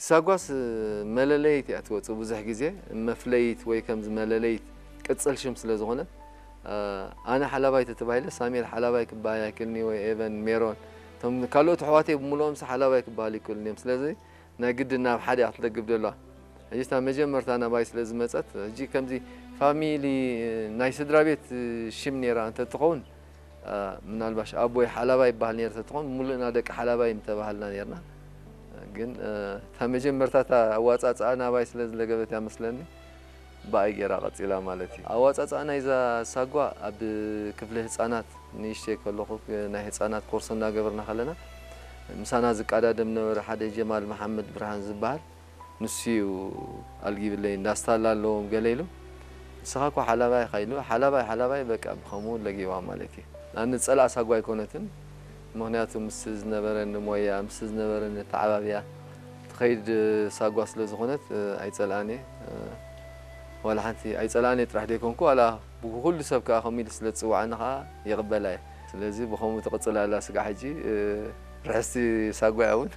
ሳጓስ መለለይት እያ ትወፅእ ብዙሕ ግዜ፣ መፍለይት ወይ ከምዚ መለለይት ቅፅል ሽም ስለ ዝኾነት፣ ኣነ ሓላባይ ተተባሂለ ሳሜል ሓላባይ ክበሃል ኣይክእልን እዩ፣ ወይ ኤቨን ሜሮን፣ እቶም ካልኦት ኣሕዋተይ ብምልኦምስ ሓላባይ ክበሃሉ ይክእሉን እዮም። ስለዚ ናይ ግድን ናብ ሓደ እያ ክትለግብ ደለዋ። ሕጂ እታ መጀመርታ ናባይ ስለ ዝመፀት፣ ሕጂ ከምዚ ፋሚሊ ናይ ስድራ ቤት ሽም ነይራ እንተትኸውን፣ ምናልባሽ ኣቦይ ሓላባይ ይበሃል ነይሩ እንተትኸውን፣ ሙሉእና ደቂ ሓላባይ ምተባሃልና ነይርና። ግን እታ መጀመርታ እታ ኣዋፃፅኣ ናባይ ስለ ዝለገበት እያ መስለኒ፣ ብኣይ ገይራ ቀፂላ ማለት እዩ። ኣዋፃፅኣ ናይዛ ሳጓ ኣብ ክፍሊ ህፃናት ንእሽተይ ከለኹ ናይ ህፃናት ኮርሶ እናገበርና ከለና ምሳና ዝቃዳደም ነበረ ሓደ ጀማል መሓመድ ብርሃን ዝበሃል። ንሱ እዩ ኣልጊብለይ፣ እንዳስታላ ኣለዎም ገለ ኢሉ፣ ንስኻ እኮ ሓላባይ ኢኻ ኢሉ፣ ሓላባይ ሓላባይ በቃ ብኸምኡ ለጊባ ማለት እዩ። ኣነ ጸላእ ሳጓ ኣይኮነትን፣ ምኽንያቱ ምስ ዝነበረኒ ሞያ፣ ምስ ዝነበረኒ ኣተዓባብያ ትኸይድ ሳጓ ስለ ዝኾነት ኣይጸልኣን እየ። ዋላ ሓንቲ ኣይጸልኣን እየ ጥራሕ ደይኮንኩ፣ ዋላ ብኩሉ ሰብ ከኣ ከምኡ ኢሉ ስለ ዝጽውዓኒ ከኣ ይቕበላ እየ። ስለዚ ብኸምኡ ትቕጽል ኣላ ስጋዕ ሕጂ ርሕስቲ ሳጓ እያ እውን።